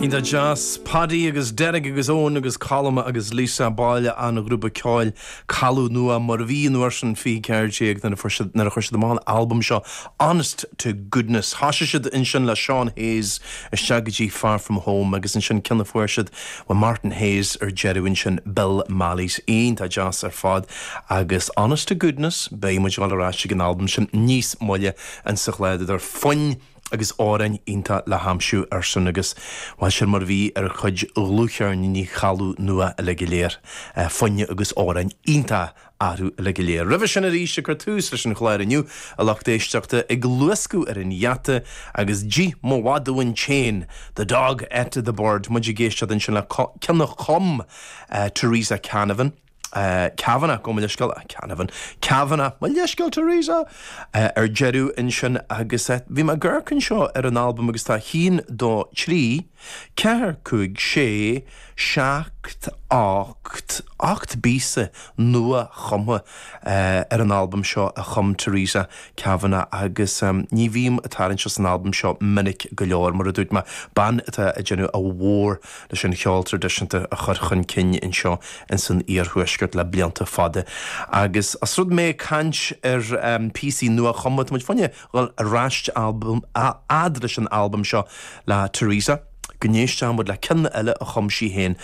Iontach deas. Paddy agus Derek agus Eoin agus Colm agus Lisa, baill an ghrúpa ceoil Caladh Nua mar a bhí an uair sin 20 14 nuair a fuair siad nuair a chuir siad amach an albam seo Honest to Goodness. Thosaigh siad ansin le Seán Hayes isteach go dtí Far From Home agus ansin ceann a fuair siad ó Martin Hayes ar deireadh ansin Bill Malley's. Iontach deas ar fad agus Honest to Goodness beidh muid ag dul ar ais ag an albam sin níos moille insa chlár idir foinn agus amhráin iontach le haimsiú air sin agus, bhuel, sin mar a bhí ar chuid dhlúthcheirníní Chaladh Nua uilig go léir, foinn agus amhráin iontach orthu uilig go léir. Roimhe sin arís, ag cur tús leis an chlár inniu, a lucht éisteachta, ag luascadh ar an gheata agus D'ith mo mhadadh an t-éan, The Dog Ate the Bird, muid ag éisteacht ansin le ceann a chum Teresa Canavan. Kavanagh, gabh mo leithscéal, Canavan, Kavanagh, mo leithscéal Teresa! ar deireadh ansin agus bhí mé ag amharc anseo ar an albam agus tá 1, 2, 3, 4, 5, 6, 7, 8, 8 bpíosa nua-chumtha ar an albam seo a chum Teresa Kavanagh agus ní bhím ag tarraingt as an albam seo minic go leor, mar a dúirt mé, bean atá ag déanamh a mhór leis an cheol traidisiúnta a chur chun cinn anseo ins an iarthuaisceart le blianta fada. Agus os rud mé ag caint ar phíosaí nua-chumtha, tá muid fá choinne dhul ar ais fhad leis an albam seo le Teresa, go n-éistfidh muid le ceann eile a chum sí féin.